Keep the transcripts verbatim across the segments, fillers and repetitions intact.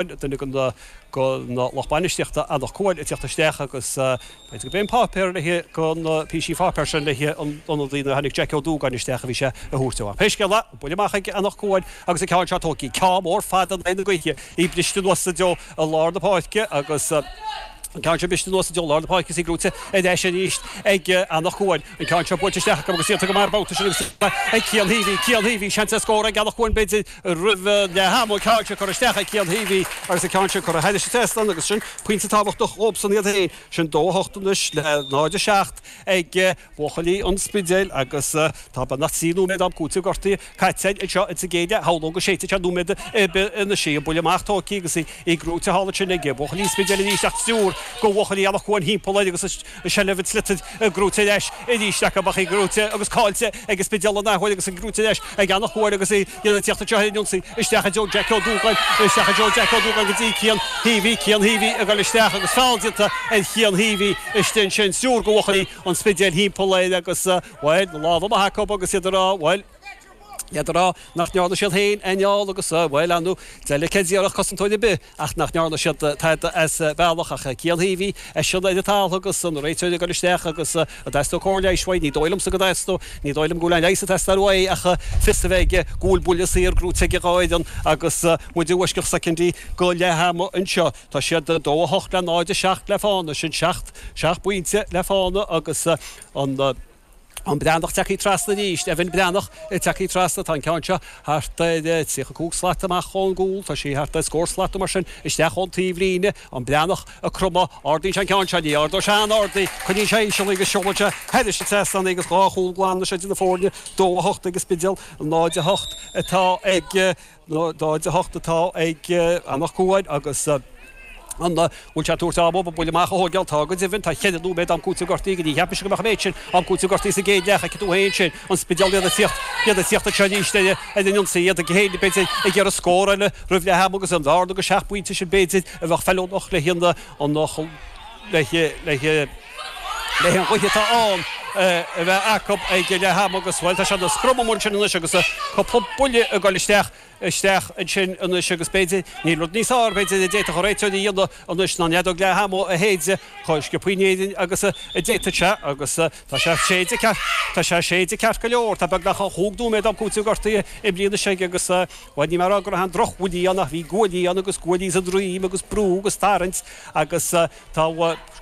Duine den lucht bainistíochta Eanach Cuain ag teacht isteach agus b'fhéidir go b'é an páipéar le haghaidh na píosaí pháipéir sin le haghaidh an ionadaí nuair a tháinig Jack Ó Dúgáin isteach a bhí sé a thabhairt dó. Ach pé scéal é, buille amach ag Eanach Cuain agus an ceann seo tógtha, ceann mór fada in aghaidh na gaoithe, í briste anuas i dtreo i lár na páirce agus an ceann seo briste anuas i dtreo lár na páirce is í gnóite ar ais arís ag Eanach Cuain. An ceann seo buailte isteach acu agus iad go maith an babhta sin agus ag Cian Heavey, Cian Heavey, seans ar scór ag Eanach Cuain b'fhéidir roimh leath ama, an ceann seo curtha isteach ag Cian Heavey agus an ceann sin curtha thairis an trasnán agus sin pointe tábhachtach dhóibhsan iad féin. Sin dó a hocht anois le náid a seacht ag buachaillí an Spidéil agus tá beagnach trí nóiméad am cúitimh gortaithe caite anseo ins an gcéad leath. Shamhlóinn go séidfidh sé nóiméad ar bith anois í. An buille amach tógtha agus í gnóite thall ansin ag buachaillí an Spidéil arís ach triúr de bhuachaillí Eanach Cuain thimpeall air agus an seilbh an tsliotair gnóite ar ais arís acu ach í gnóite agus caillte ag an Spidéal an athuair agus í gnóite ar ais ag Eanach Cuain agus í ag tíocht anseo ar an ionsaí isteach i dtreo Jack Ó Dúgáin isteach i dtreo Jack Ó Dúgáin go dtí Cian Heavey Cian Heavey ag dul isteach agus feall déanta ar Chian Heavey istigh ansin triúr de bhuachaillí an Spidéil thimpeall air agus bhuel na lámha amach acu agus iad ag rá bhuel iad ag rá nach ndearna siad féin aon fheall agus bhuel ar ndóigh delicate d'iarrfadh cosantóir ar bith ach nach ndearna siad tada as bealach ach Cian Heavey eisean ar an talamh agus an réiteoir ag dul isteach agus an dteastódh cóir leighis uaidh ní dóigh liomsa go dteastódh ní dóigh liom go bhfuil aon leigheas ag teastáil uaidh ach fios a bheith aige go bhfuil buille saor gnóite ag an dhá fhoireann agus muid i bhfoisceacht soicindí go leath ama anseo. Tá siad dó a hocht le náid a seacht le fána sin seacht seacht bpointe le fána agus an An Breathnach tagtha trasna arís, Evan Breathnach tagtha trasna, tá an ceann seo thart ar tríocha cúig slat amach ón gcúl, tá sí thart ar scór slat nó mar sin isteach ón taobhlíne, an Breathnach ag cromadh, ardaíonn sé an ceann seo, ní ardóidh sé an-ard í, coinníonn sé íseal í agus seolann sé thairis an trasnán í agus dhá chúl glan anois idir na foirne, dó a hocht ag an Spidéal, náid a hocht atá ag náid a hocht atá ag Eanach Cuain agus. An bhfuil sé ag tabhairt am dóibh an buille amach a thóigeáil? Tá go deimhin. Tá ceithre nóiméad am cúitimh gortaithe aige. Ní cheap mise go mbeadh an méid sin am cúitimh gortaithe sa gcéad leath. Feicfidh tú féin sin. An Spidéal iad ag tíocht, iad ag tíocht anseo arís ar an ionsaí. Iad ag féin, b'fhéidir, ag iarraidh scór eile roimh leath ama agus an bhearna go seacht bpointe sin, b'fhéidir, a bheadh feiliúnach le haghaidh an, le haghaidh, le haghaidh an ghaoth atá ann a bheith acu ag leath ama agus, bhuel, tá sé ina scrum amuigh ansin anois agus cúpla buille ag dul isteach. isteach ansin anois agus b'fhéidir, níl rud níos fearr, b'fhéidir, a d'fhéadfadh an réiteoir a dhéanamh anois ná an fheadóg leath ama a shéideadh chomh sciobtha in Éirinn agus a d'fhéadfadh sé agus tá sé séidte ceart, tá sé séidte ceart go leor, tá beagnach chúig nóiméad am cúitimh gortaithe imeartha anois aige agus, bhuel, níl mé ag rá go raibh aon drochbhuillí ann ach bhí guaillí ann agus guaillí sa droim agus brú agus tarraingt agus tá,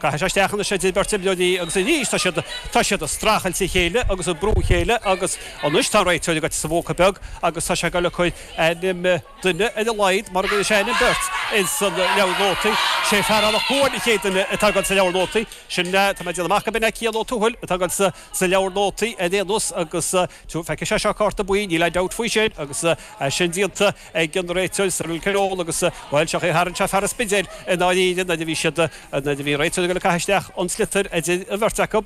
caithfidh sé isteach anois idir beirt imreoirí agus arís tá siad, tá siad ag streachailt a chéile agus ag brú a chéile agus anois tá an réiteoir ag goil sa phóca beag agus tá sé ag dul ag cur ainm duine ar a laghad mura gcuirfidh sé ainm beirt ins an leabhar nótaí. Sé fear Eanach Cuain an chéad duine atá ag dul sa leabhar nótaí. Sin, tá mé ag déanamh amach go b'in é Cian Ó Tuathail atá ag dul sa sa leabhar nótaí ar aon nós agus feicfidh sé seo cárta buí, níl aon dabht faoi sin agus é sin déanta ag an réiteoir Cyril Conole agus, bhuel, seo é tharraing sé fear an Spidéil i ndáiríre nuair a bhí siad, nuair a bhí an réiteoir ag dul ag caitheamh isteach an sliotar idir an bheirt acu.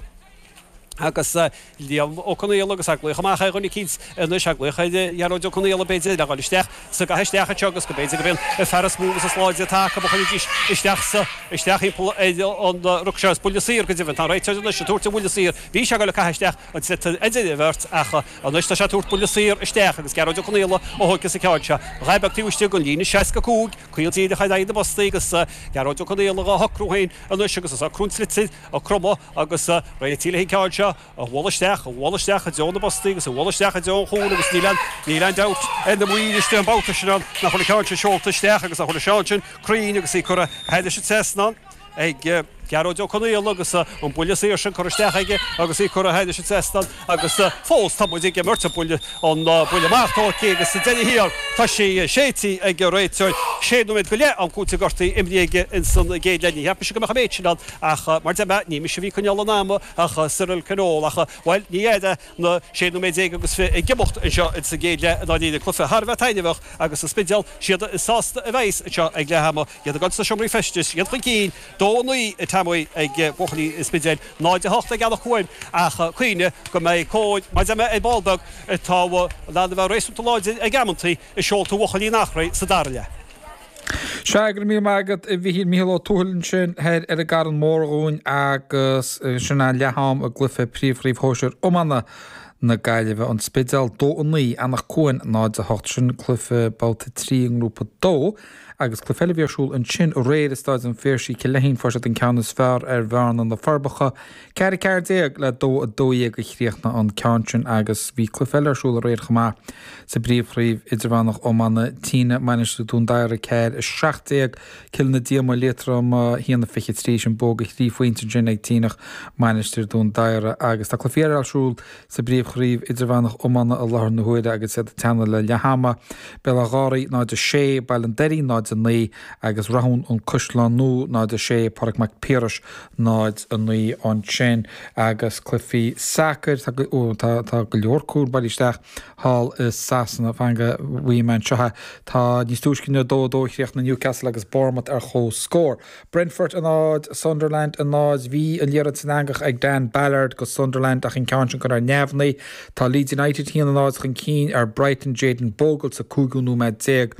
Agus Liam Ó Conaola agus ag glaoch amach ar dhuine eicínt anois, ag glaoch ar Ghearóid Ó Conaola b'fhéidir le dhul isteach sa gcaitheamh isteach anseo agus go mb'fhéidir gurb é an fear is mó agus is láidre atá acu a chuirfidís isteach sa, isteach thimpeall ar an ruc seo. Is buille saor go deimhin. Tá an réiteoir anois ag tabhairt an bhuille saor. Bhí sé ag dul ag caitheamh isteach an tsliotar idir an bheirt ach anois tá sé ag tabhairt buille saor isteach agus Gearóid Ó Conaola a thógfas an ceann seo. A dhath beag taobh istigh den líne seasca cúig, caol díreach ar aghaidh na bpostaí agus Gearóid Ó Conaola dhá shocrú féin anois agus ag socrú an tsliotair, ag cromadh agus réitithe leis an gceann seo a bhualadh isteach, a bhualadh isteach i dtreo na bpostaí agus a bhualadh isteach i dtreo an chúil agus níl aon, níl aon dabht ar na maoir istigh an babhta sin ann nach bhfuil an ceann sin seolta isteach agus nach bhfuil an ceann sin cruinn agus í curtha thairis an trasnán ag Gearóid Ó Conaola agus an buille saor sin curtha isteach aige agus í curtha thairis an trasnán agus fós tá muid ag imirt an buille an buille amach tógtha agus sa deireadh thiar tá sí séidte ag an réiteoir. Sé nóiméad go leith am cúitimh gortaithe imeartha aige ins an gcéad leath. Ní cheap mise go mbeadh an méid sin ann ach mar deir mé ní mise a bhí ag coinneáil an ama ach Cyril Conole ach bhuel ní fheadar na sé nóiméad déag agus fiche ag imeacht anseo ins an gcéad leath i ndáiríre. Cluiche thar a bheith taitneamhach agus an Spidéal siad is sásta a bheas anseo ag leath ama. Iad ag dul sna seomraí feistis, iad chun cinn, dó a naoi an t-am ag buachaillí an Spidéil, náid a hocht ag Eanach Cuain ach cuimhnigh go mbeidh cóir, mar deir mé ar ball beag, atá in ann a bheith réasúnta láidir ag amantaí i seolta bhuachaillí an Eachréidh sa dara leath. Sea, go raibh míle maith agat a Mhichíl, Mícheál Ó Tuathail ansin thoir ar an gCarn Mór dhúinn agus sin é leath-am i gcluiche Príomh-Chraobh Shóisir Iomána na Gaillimhe, An Spidéal dó a naoi, Eanach Cuain náid a hocht. Sin cluiche babhta trí i ngrúpa dó. Agus cluiche eile a bhí ar siúl ansin aréir i Staid an Phiarsaigh, Cill Leithín, fuair siad an ceann is fearr ar Bhearna na Forbacha, ceathair a ceathair déag le dó a dó dhéag a chríochnaigh an ceann sin agus bhí cluiche eile ar siúl aréir chomh maith sa bPríomhchraobh Idirmheánach Iomána, Tynagh, Mainistir Dún Dara ceathair a seacht déag, Cill na Díoma, Liatroim a haon a fiche trí, sin bua de thrí phointe ansin ag Tynagh, Mainistir Dún Dara agus tá cluichí eile ar siúl sa bPríomhchraobh Idirmheánach Iomána i láthair na huaire agus iad ag teannadh le leath ama, Béal Átha Gháraí náid a sé, Baile an Doirín náid a naoi agus Rathún An Caisleán Nua náid a sé, Pádraig Mac Piarais náid a naoi ansin agus cluichí sacair, tá tá tá go leor cúl bailithe isteach thall i Sasana, fan go bhfaighidh mé anseo é. Tá níos túisce inniu dó a dó a chríochnaigh Newcastle agus Bournemouth ar comhscór. Brentford a náid, Sunderland a náid. Bhí an liathróid san eangach ag Dan Ballard go Sunderland ach an ceann sin curtha ar neamhní. Tá Leeds United haon a náid chun cinn ar Brighton, Jayden Bogle sa cúigiú nóiméad déag.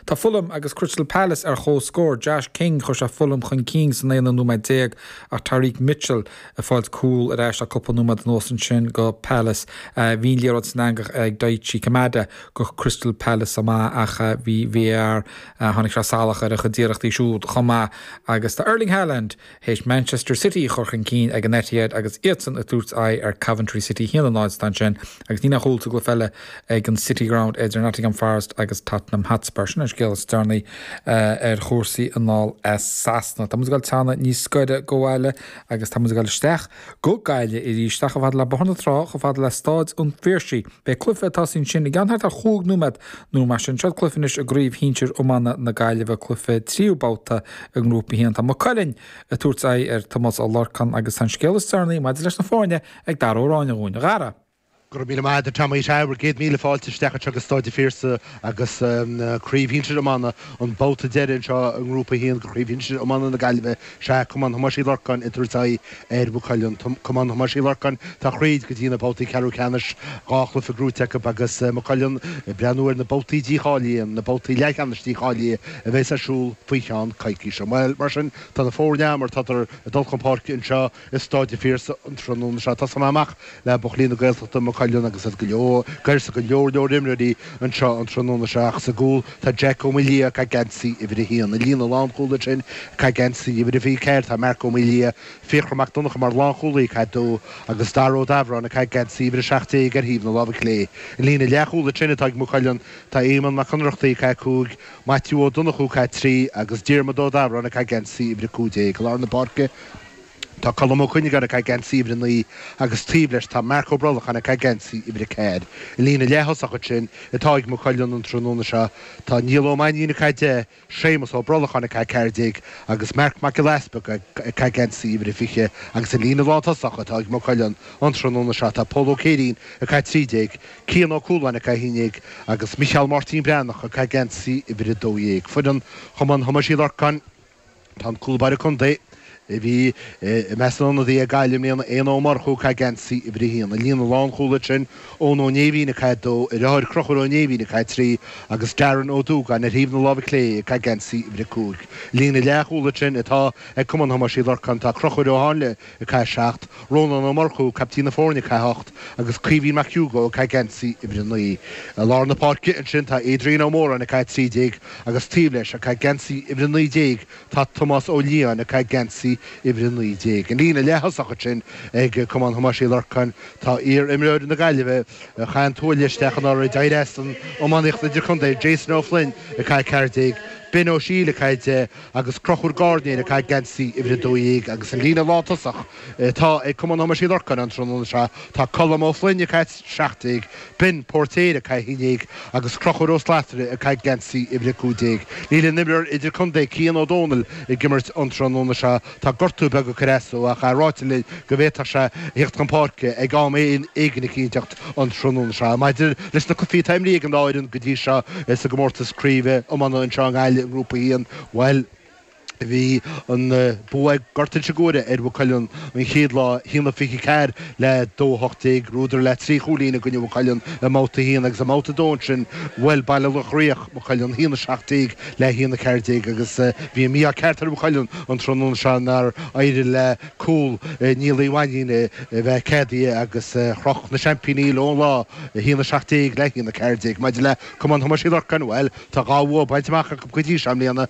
Tá Fulham agus Crystal Palace ar comhscór. Josh King, chuir sé Fulham chun cinn san aonú nóiméad déag ach Tyrick Mitchell ag fáilt cúl ar ais le cúpla nóiméad anuas ansin go Palace. Bhí an liathróid san eangach ag Daichi Kamada go Crystal Palace chomh maith ach bhí VAR, tháinig sé salach ar a chuid iarrachtaí siúd chomh maith agus tá Erling Haaland théis Manchester City a chur chun cinn ag an Etihad agus iadsan ag tabhairt aghaidh ar Coventry City haon a náid atá ansin agus níl aon chúl sa gcluiche eile ag an City Ground idir Nottingham Forest agus Tottenham Hotspur. Sin an scéal is deireanaí ar chúrsaí anall as Sasana. Tá muid ag dul teannadh níos gaire go bhaile agus tá muid ag dul isteach go Gaillimh arís, isteach chomh fada le Bóthar na Trá, chomh fada le Stáid an Phiarsaigh. Beidh cluiche ag tosaí ansin i gceann thart ar chúig nóiméad nó mar sin. Seo cluiche anois i gCraobh Shinsir Iomána na Gaillimhe, cluiche tríú babhta i nGrúpa a haon. Tá Maigh Cuilinn ag tabhairt aghaidh ar Tomás Ó Lorcáin agus tá an scéal is deireanaí maidir leis na foirne ag Dara Ó Ráinne dhúinn. A Dhara. Go raibh míle maith agat, a Tommy. Sea, bhur gcéad míle fáilte isteach anseo go Stáid an Phiarsaigh agus Craobh Shinsir Iomána, an babhta deiridh anseo i nGrúpa a haon de Chraobh Shinsir Iomána na Gaillimhe. Sea, Cumann Thomáis Uí Lorcáin ag tabhairt aghaidh ar Mhaigh Cuilinn. Cumann Thomáis Uí Lorcáin atá thríd go dtí na babhtaí ceathrú ceannais, dhá chluiche gnóite acu agus Maigh Cuilinn ag breathnú ar na babhtaí dícháilithe, na babhtaí leathcheannais dícháilithe a bheas ar siúl faoi cheann coicíse. Bhuel, mar sin, tá na foirne mar tádar ag dul chun páirce anseo i Stáid an Phiarsaigh an tráthnóna seo. Tosóidh mé amach le buachaillí na Gaeltachta, Maigh Cuilinn agus iad go leor, gairse go leor leor imreoirí anseo an tráthnóna seo ach sa gcúl tá Jack Ó Maoildhia ag caitheamh geansaí uimhir a haon. An líne lánchúil ansin ag caitheamh geansaí uimhir a fiche ceathair tá Marc Ó Maoildhia, Fiachra Mac Donncha mar lánchúlaí ag caitheamh dó agus Dara Ó Dabhráin ag caitheamh geansaí uimhir a seacht déag ar thaobh na láimhe clé. An líne leathchúil ansin atá ag Maigh Cuilinn tá Éamonn Mac Ionnrachtaigh ag caitheamh cúig, Maitiú Ó Donnchú ag caitheamh trí agus Diarmuid Ó Dabhráin ag caitheamh geansaí uimhir a cúig déag. I lár na páirce tá Colm Ó Cuinneagáin ag caitheamh geansaí uimhir a naoi agus taobh leis tá Marc Ó Brolacháin ag caitheamh geansaí uimhir a ceathair. An líne leath-thosach ansin atá ag Maigh Cuilinn an tráthnóna seo tá Niall Ó Mainnín ag caitheamh deich, Séamus Ó Brolacháin ag caitheamh ceathair déag agus Marc Mac Giolla Easpaig ag caitheamh geansaí uimhir a fiche agus an líne lántosach atá ag Maigh Cuilinn an tráthnóna seo tá Pól Ó Céirín ag caitheamh trí déag, Cian Ó Cualáin ag caitheamh a haon déag agus Micheál Máirtín Breathnach ag caitheamh geansaí uimhir a dó dhéag. Foireann Chumann Thomáis Uí Lorcáin. Tá an cúl báire contae a bhí i measc na n-ionadaithe ag Gaillimh i mbliana, Éanna Ó Murchú, ag caitheamh geansaí uimhir a haon. An líne lánchúil ansin, Eoin Ó Néimhín ag caitheamh a dó, a dheartháir Conchúr Ó Néimhín ag caitheamh trí agus Darren Ó Dúgáin ar thaobh na láimhe clé ag caitheamh geansaí uimhir a cúig. Líne leathchúil ansin atá ag Cumann Thomáis Uí Lorcáin, tá Conchúr Ó Háinle ag caitheamh seacht, Rónán Ó Murchú, caiptín na foirne, ag caitheamh ocht agus Caoimhín Mac Hugo ag caitheamh geansaí uimhir a naoi. I lár na páirce ansin tá Adrian Ó Móráin ag caitheamh trí déag agus taobh leis ag caitheamh geansaí uimhir a naoi déag Tá Tomás Ó Liatháin ag caitheamh geansaí uimhir a naoi déag. An líne leath-thosach ansin ag Cumann Thomáis Uí Lorcáin, tá iar-imreoir na Gaillimhe a chaith an tuaille isteach anuraidh, d'éirigh as an iománaíocht idirchontae, Jason Ó Floinn ag caitheamh ceathair déag, Ben Ó Siail ag caitheamh deich agus Conchúr Gairnéir ag caitheamh geansaí uimhir a dó dhéag. Agus an líne lántosach atá ag Cumann Thomáis Uí Lorcáin an tráthnóna seo, tá Colm Ó Floinn ag caitheamh seacht déag, Ben Póirtéir ag caitheamh a haon déag agus Conchúr Ó Slatara ag caitheamh geansaí uimhir a cúig déag. Níl an imreoir idirchontae Cian Ó Dónaill ag imirt an tráthnóna seo. Tá gortú beag ag cur as dó ach ráite linn go bhféadfadh sé a theacht chun páirce ag am éigin eicínteacht an tráthnóna seo. Maidir leis na cluichí atá imrithe ag an dá fhoireann go dtí seo sa gcomórtas craoibhe iomána anseo i nGaillimh i nGrúpa a haon, bhuel, Bhí an bua ag Gort Inse Guaire ar Mhaigh Cuilinn an chéad lá, a haon a fiche ceathair le dó a hocht déag. Bhuadar le trí chúilín i gcoinne Mhaigh Cuilinn i mbabhta a haon agus i mbabhta a dó ansin bhuail Baile Locha Riach Maigh Cuilinn, a haon a seacht déag le a haon a ceathair déag agus bhí an mí-ádh ceart ar Mhaigh Cuilinn an tráthnóna seo nár éirigh le cúl Niall Uí Mhainnín a bheith ceadaithe agus chroch na seaimpíní leo an lá, a haon a seacht déag le a haon a ceathair déag. Maidir le Cumann Thomáis Uí Lorcáin, bhuel, tá dhá bhua bainte amach acu go dtí seo i mbliana.